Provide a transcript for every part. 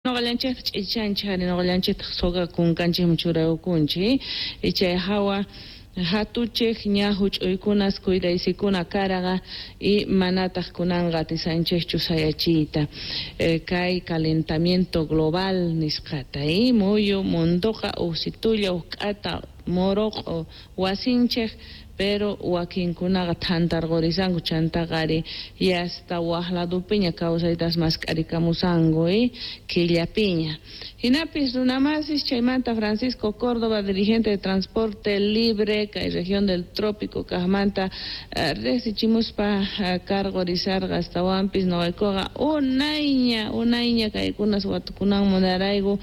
Noqallanchejta ch'ichanchej ari, noqallanchejtaj soga kunkanchejman churaykunchej, y chay jawa jatuchej ña juch'uykunas cuidaysikuna karaqa y manataj kunanqa atisanchejchu sayachiyta kay calentamiento global nisqata y muyu mundoqa ujsitulla uj k'ata moroq'o wasinchej, pero wakinkunaqa thantarqurisanku chantaqa ari yasta waj ladopiña kawsaytas mask'arikamusanku killapiña. Jinapis runamasis chaymanta Francisco Córdoba, dirigente de Transporte Libre kay región del Trópico kajmanta riqsichimuspa karqurisarqa astawanpis noqaykuqa unayña unayña kaykunas watukunan munarayku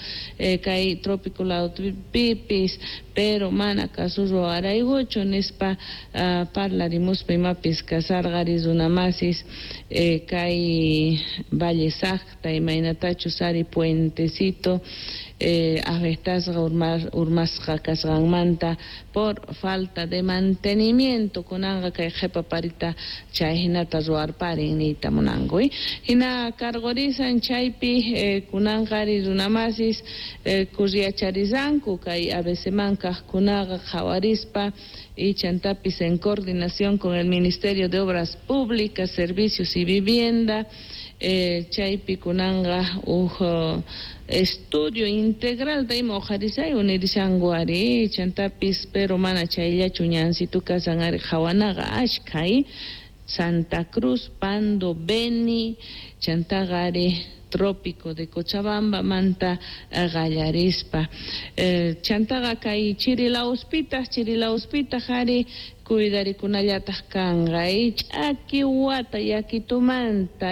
kay trópico ladopipis, pero mana kasurwaraykuchu nispa parlarimuspa imapis kasarqa ari runamasis kay Valle Sacta imaynatachus ari puentecito afectasqa urmasqa kasqanmanta por falta de mantenimiento kunanqa kay qhipa parita chay hinata ruwarparin niyta munanku. Hina karqurisan chaypi kunanqa ari runamasis kurriyacharizanku kay ABCman kaqkunaqa qhawarispa y chantapis en coordinación con el Ministerio de Obras Públicas, Servicios y Vivienda, chaypi kunanqa uj estudio integral ima uqharisay unirishanku ari chantapis, pero mana chayllachu ñansitu kasan ari qhawanaqa ashkha Santa Cruz, Pando, Beni, chantaqa ari Trópico de Cochabamba manta qallarispa. Chantaqa kay Chirilauspitaq ari cuidarikunallataq kanqa ch'aki wata yakitumanta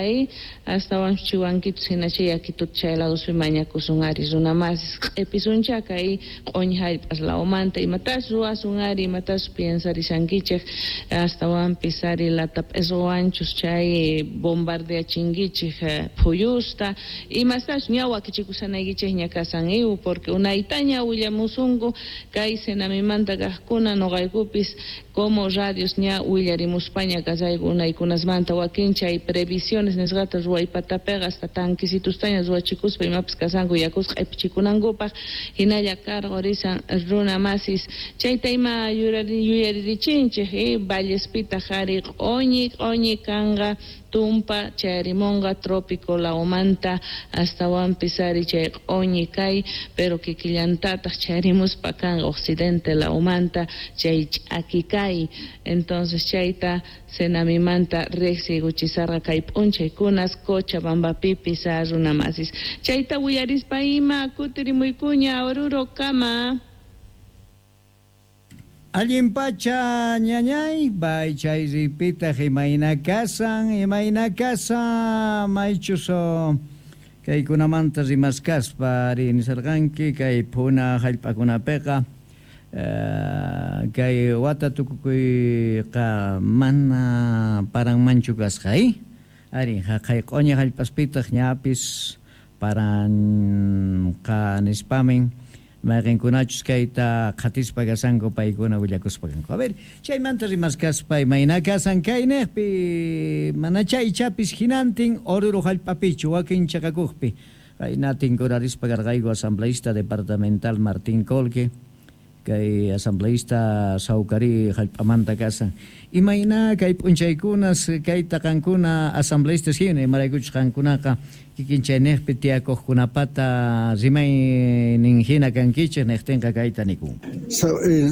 astawan chiwankitus hina chay yakituta chay ladospi mañakusun ari runamasis q'ipisuncha kay q'uñi hallp'as lawmanta imatas ruwasun ari imatas piensarishankichej astawanpis ari lata p'isquwanchus chay bombardeachinkichej phuyusta imastachu ña wakichikushanaykichejña kasan iw porque unaytaña willamusunku kay Senamimanta kaqkuna noqaykupis como radios ña willarimuspaña kasayku unaykunasmanta wakin chay previsiones nisqata ruwaypatapiqa hasta tanquisitustaña ruwachikuspa imapis kasanku yakusqa q'ipichikunankupaq hinalla karqurisan runamasis chayta ima yuyaririchinchej vallespitaq ari q'uñi q'uñi kanqa tumpa chayarimunqa trópico lawmanta astawanpis ari chay q'uñi kay pero kikillantataq chayarimuspa kanqa occidente lawmanta chay ch'aki kay entonces chayta Senamimanta riqsiykuchisarqa kay p'unchaykunas Cochabambapipis runamasis chayta willarispa ima kutirimuykuña Oruro kama. Allin pacha ñañay, bay chay ripitaq imayna kasan maychus kaykunamanta rimaskaspa ari nisarqanki kay phuna hallp'akunapiqa kay wata tukukuyqa mana paranmanchu kasqa ari haqay q'uñi hallp'aspitaq ñapis paranqa nispamin mayqinkunachus kayta qhatispa kasanku paykuna willakuspa kanku. A ver, chaymanta rimaskaspa imayna kasan kayniqpi mana chay ichapis hinantin Oruro hallp'apichu wakin chaqakuqpi qayna tinkurarispa karqayku asambleísta departamental Martín Colque kay asambleísta Saucari hallp'amanta kasan imayna kay p'unchaykunas kayta qankuna asambleístas hina imaraykuchus qankunaqa kikin chayniqpi tiyakuqkunapata rimaynin hina kankichej niqtinqa kayta nikun.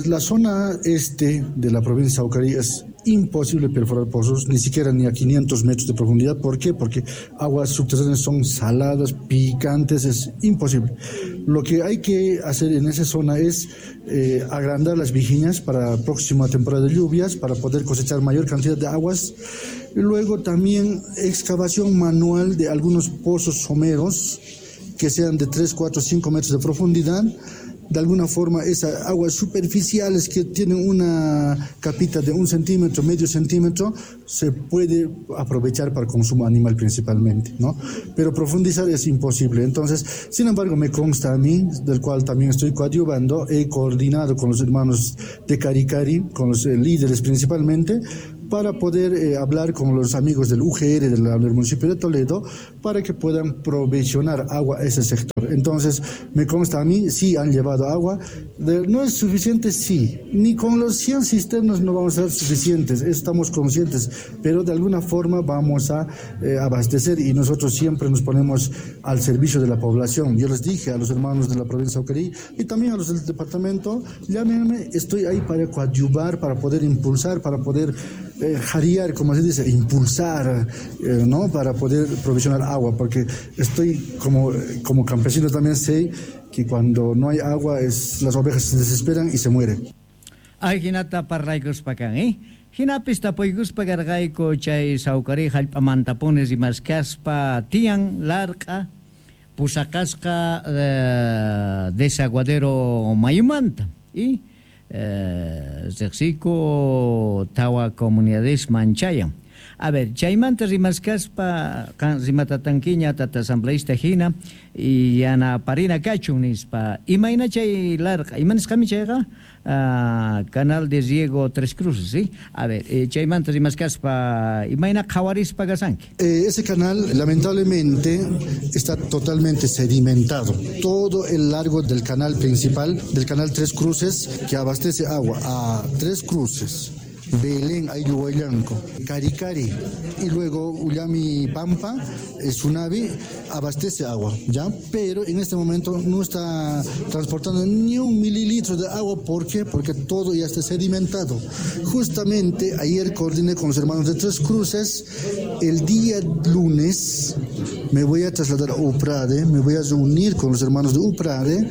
La zona este de la provincia de Saucari es imposible perforar pozos, ni siquiera ni a 500 metros de profundidad. ¿Por qué? Porque aguas subterráneas son saladas, picantes, es imposible. Lo que hay que hacer en esa zona es agrandar las vijiñas para la próxima temporada de lluvias, para poder cosechar mayor cantidad de aguas. Y luego también excavación manual de algunos pozos someros que sean de 3, 4, 5 metros de profundidad. De alguna forma esas aguas superficiales que tienen una capita de 1 centímetro, medio centímetro, se puede aprovechar para consumo animal principalmente, ¿no? Pero profundizar es imposible. Entonces, sin embargo, me consta a mí, del cual también estoy coadyuvando, he coordinado con los hermanos de Caricari, con los líderes principalmente, para poder hablar con los amigos del UGR del municipio de Toledo para que puedan provisionar agua a ese sector. Entonces, me consta a mí, sí han llevado agua. ¿No es suficiente? Sí. Ni con los 100 cisternas no vamos a ser suficientes, estamos conscientes, pero de alguna forma vamos a abastecer y nosotros siempre nos ponemos al servicio de la población. Yo les dije a los hermanos de la provincia de Aucarí y también a los del departamento, llámenme, estoy ahí para coadyuvar, para poder impulsar, para poder jarear, como se dice, impulsar, ¿no? Para poder provisionar agua, porque estoy como campesino también sé que cuando no hay agua las ovejas se desesperan y se mueren. Ay, hinata parlaykuspa kan, ¿eh? Hinapis tapuykuspa karqayku chay Sawkari hallp'amantapunis rimaskaspa tiyan larq'a pusaqasqa desaguadero mayumanta y riqsiyku tawa comunidades manchayan. A ver, chaymanta rimaskaspa rimatatankiña tata asambleísta hina y yanaparina kachun nispa. Imayna chay larqa, ima nisqami chayqa? Canal de Riego Tres Cruces, ¿sí? A ver, chaymanta rimaskaspa, imayna qhawarispa kasanki? Ese canal lamentablemente está totalmente sedimentado. Todo el largo del canal principal, del canal Tres Cruces, que abastece agua a Tres Cruces, Belén, Ayuhuayllanco, Caricari y luego Ullami Pampa, Sunavi, abastece agua, ¿ya? Pero en este momento no está transportando ni un mililitro de agua. ¿Por qué? Porque todo ya está sedimentado. Justamente ayer coordiné con los hermanos de Tres Cruces. El día lunes me voy a trasladar a Uprade, me voy a reunir con los hermanos de Uprade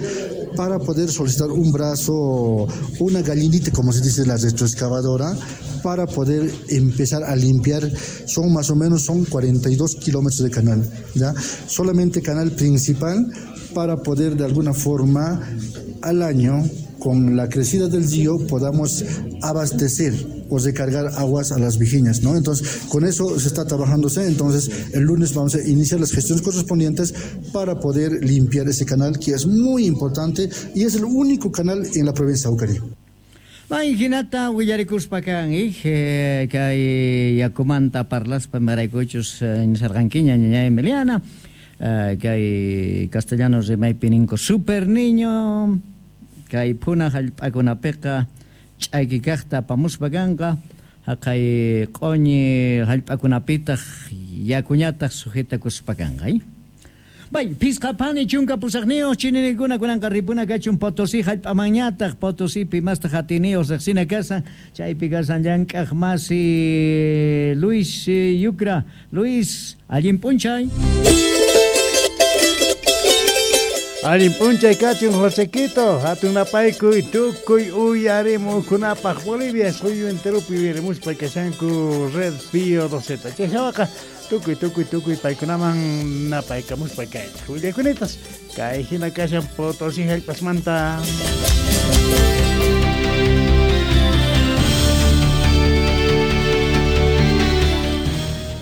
para poder solicitar un brazo, una gallinita, como se dice, la retroexcavadora, para poder empezar a limpiar. Son más o menos 42 kilómetros de canal, ¿ya? Solamente canal principal, para poder de alguna forma al año, con la crecida del río, podamos abastecer o recargar aguas a las vijiñas, ¿no? Entonces, con eso se está trabajándose. Entonces, el lunes vamos a iniciar las gestiones correspondientes para poder limpiar ese canal, que es muy importante y es el único canal en la provincia de Aucarí. May hinata willarikuspa kan, kay yakumanta parlaspa maraykuchus nisarqankiña ñaña Emiliana, kay castellano rimaypi ninku super niño, kay phuna hallp'akunapiqa ch'ayki kaqta apamuspa kanqa, haqay q'uñi hallp'akunapitaq yakuñataq sujetakuspa kanqa, Bay, pisqa pani chunka pusaqniyuq chininikuna kunanqa ripuna kachun Potosí hallp'amanñataq, Potosípi mastaq atiniyuq riqsina kasan, chaypi kasan llank'aq masi Luis Yucra. Luis, allin p'unchay. Allin p'unchay kachun Josequito, hatun napaykuy tukuy uyarimukunapaq Bolivia suyu enteropi uyarimuspa kashanku Red Pío 2Z. Chayhawaqa tukuy tukuy tukuy paykunaman napaykamuspa kaychik. Willakunitas kay hina kashan Potosí hallp'asmanta.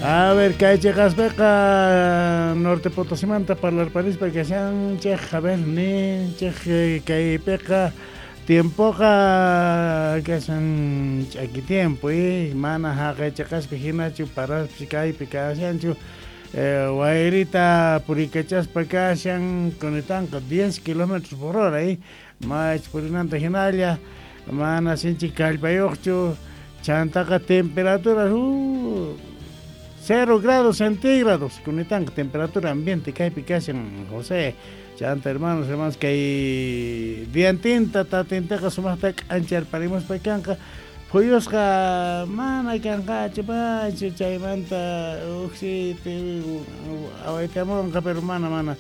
A ver, kay chiqaspiqa Norte Potosimanta parlarparispa kashanchik, a ver, ninchik kaypiqa tiempoqa kashan ch'aki tiempo, mana haqay chiqaspi hinachu paraspi kaypi kashanchu, wayrita purikachaspa kashan kunitanqa 10 kilómetros por hora, mach purinanta hinalla, mana sinchi kallpayuqchu, chantaqa temperatura 0 grados centígrados, kunitanqa temperatura ambiente kaypi kashan José. Chanta hermanos, hermanos, kay diantinta tatintaqa sumaqta k'ancharparimuspa kanqa, phuyusqa mana kanqachu pachu, chaymanta uqsiti awaytamunqa, pero mana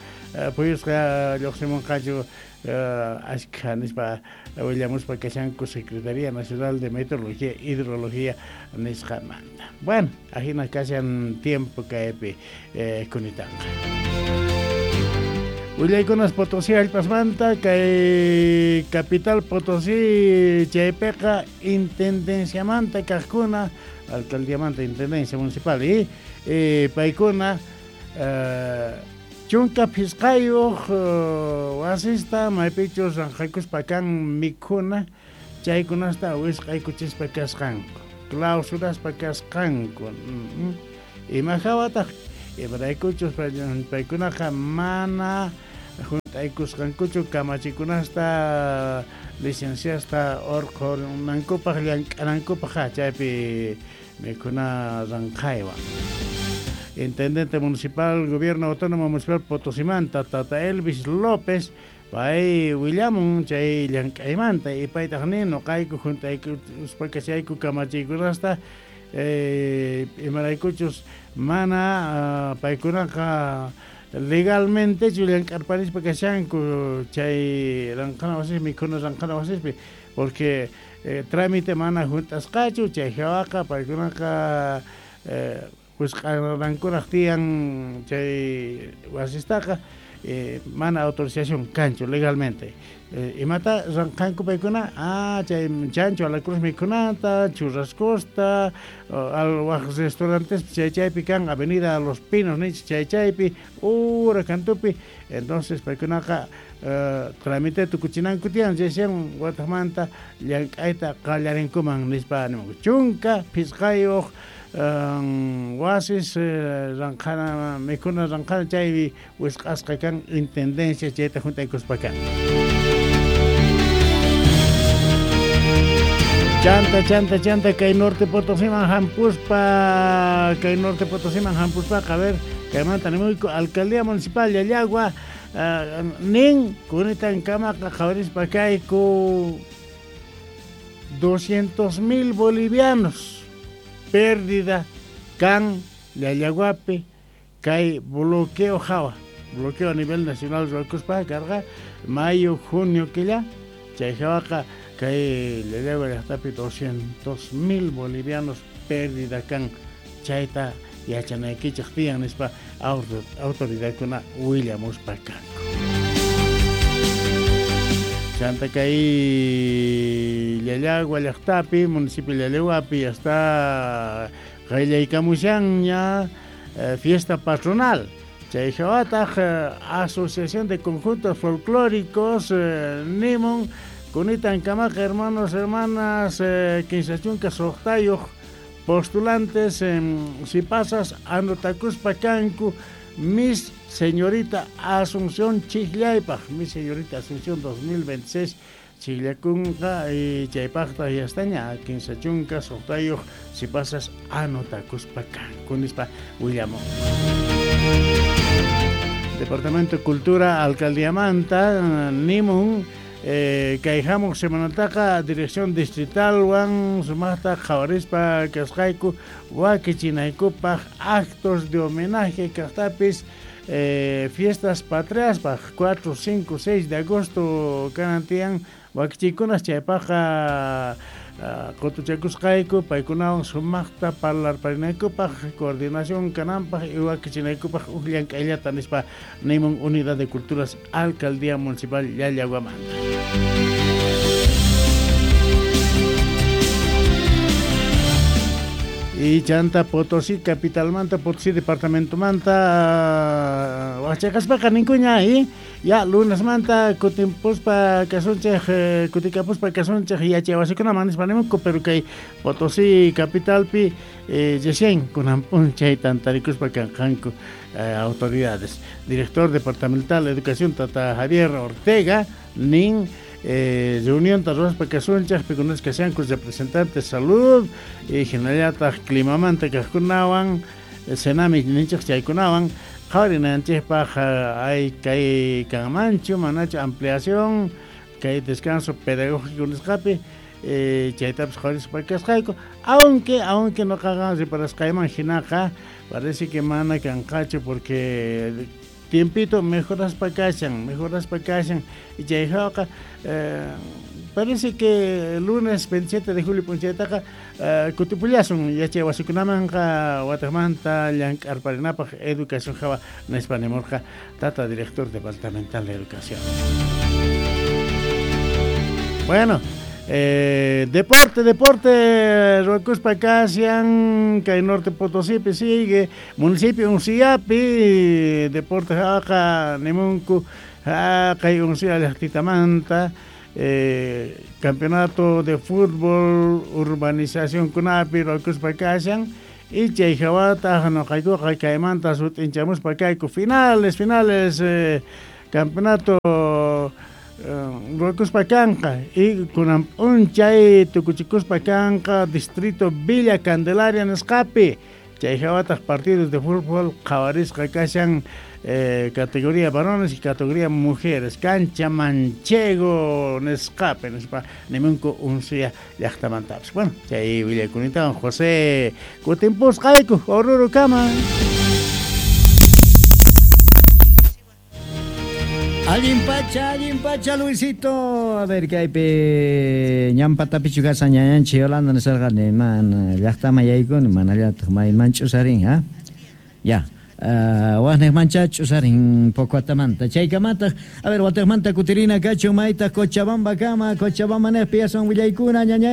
phuyusqa lluqsimunqachu ashkha nispa willamuspa kashanku Secretaría Nacional de Meteorología e Hidrología nisqamanta. Bueno, ajina kashan tiempo kaypi kunitanqa. Willaykunas Potosí hallp'asmanta, kay capital Potosí chaypiqa intendenciamanta kaqkuna, alcaldiamanta intendencia municipal y paykuna chunka phisqayuq wasista maypichus ranqaykuspa kan mikhuna chaykunasta wisq'aykuchispa kasqanku. Clausuraspa kasqanku. Ima hawataq imaraykuchus paykunaqa mana junt'aykusqankuchu kamachikunasta licenciasta urqhunankupaq llank'anankupaq chaypi mikhuna ranqhaywan. Intendente Municipal, Gobierno Autónomo Municipal Potosimanta, Tata Elvis López, pay willamun chay llank'aymanta y paytaq nin nuqayku junt'aykuspa kashayku kamachiykunasta imaraykuchus mana paykunaqa legalmente chu llank'arparispa kashanku chay ranqhana wasispi mikhuna ranqhana wasispi porque trámite mana junt'asqachu chay hawaqa paykunaqa wisq'arankuraq tiyan chay wasistaqa mana autorización kanchu legalmente. Imata ranqhanku paykuna chay chancho a la cruz mikhunata, churrascosta, al waj restaurantes chay chaypi kan Avenida Los Pinos nich chay chaypi ura kantupi. Entonces paykunaqa trámite tukuchinanku tiyan chaysian watajmanta llank'ayta qallarinkuman nispa nimunku. Chunka phisqayuq wasis ranqhana mikhuna ranqhana chaypi wisq'asqa kan intendencia chayta junt'aykuspa kan. Chanta chanta chanta kay Norte Potosiman hampuspa a ver kaymanta nimuyku Alcaldía Municipal Llallagua nin kunitan kamaqa qhawarispa kayku 200,000 bolivianos pérdida kan Llallaguapi kay bloqueo hawa bloqueo a nivel nacional ruwakuspa karqa mayo junio killa chay hawaqa kay Llallagua llaqtapi 200,000 bolivianos pérdida kan chayta yachanaykichik tiyan nispa autoridadkuna willamuspa kanku. Chanta kay Llallagua llaqtapi municipio Llallaguapi hasta qallaykamushanña fiesta patronal. Chay hawataq Asociación de Conjuntos Folclóricos nimun kunitan kamaqa hermanos hermanas 15 suqtayuq postulantes si pasas anotakuspa kanku Miss Señorita Asunción Chijllaypaq, Miss Señorita Asunción 2026 Chijllakunqa y chaypaqta yastaña 15 suqtayuq si pasas anotakuspa kanku nispa willamun. Departamento de Cultura Alcaldía Manta nimun kay hamuq semanataqa Dirección Distritalwan sumaqta qhawarispa kasqayku wakichinaykupaq actos de homenaje kaqtapis fiestas patriaspaq 4, 5, 6 de agosto kanan tiyan wakichiykunas chaypaqqa qutuchakusqayku paykunawan sumaqta parlarparinaykupaq coordinación kananpaq y wakichinaykupaq uj llank'ayllata nispa nimun Unidad de Culturas Alcaldía Municipal Llallaguamanta. Y chanta Potosí capitalmanta Potosí departamentomanta wachaqaspaqa ninkuña y ya lunesmanta kutimpuspa kasunchej kutikapuspa kasunchej yachay wasikunaman nispa nimunku pero kay Potosí capitalpi recién kunan p'unchay tantarikuspa kanqanku autoridades. Director departamental de Educación Tata Javier Ortega nin reunión ruwaspa kasunchej pikunas kashanku representantes salud y hinallataq climamanta kaqkunawan Senami ninchej chaykunawan qhawarinanchikpaq hay kay kanmanchu manachu ampliación kay descanso pedagógico nisqapi chaytapas qhawarispa kasqayku aunque nuqaqa reparasqayman hinaqa parece que mana kanqachu porque tiempito mejoraspa kashan y chay hawaqa parece que el lunes 27 de julio p'unchaytaqa kutipullasun yachay wasikunamanqa wataqmanta llank'arparinapaq educación hawa nispa nimurqa tata director departamental de educación. Bueno, deporte, ruwakuspa kashan kay Norte Potosípi sigue municipio Unciapi deporte hawaqa nimunku kay Uncia llaqtitamanta Campeonato de fútbol urbanización kunapi ruwakuspa kashan y chay hawataq nuqaykuqa kaymanta sut'inchamuspa kayku finales finales campeonato ruwakuspa kanqa y kunan p'unchay tukuchikuspa kanqa distrito Villa Candelaria nisqapi chay hawataq partidos de fútbol qhawarisqa kashan categoría varones y categoría mujeres cancha manchego nisqapi nispa nimunku unsuya llaqtamantapis. Bueno, chay willakunitawan José kutimpusqayku Oruro kama. Allin pacha, Luisito. A ver, kaypi ñampatapichu kashan ñañanchik Yolanda nisarqani mana llaqtaman yaykuni manallataq mayman ch'usarin, ha? Ya. Waqniqmancha ch'usarin Pocoatamanta. Chaykamataq, a ver, watiqmanta kutirina kachun maytaq Cochabamba kama, Cochabamba niqpi aswan willaykuna ñañay.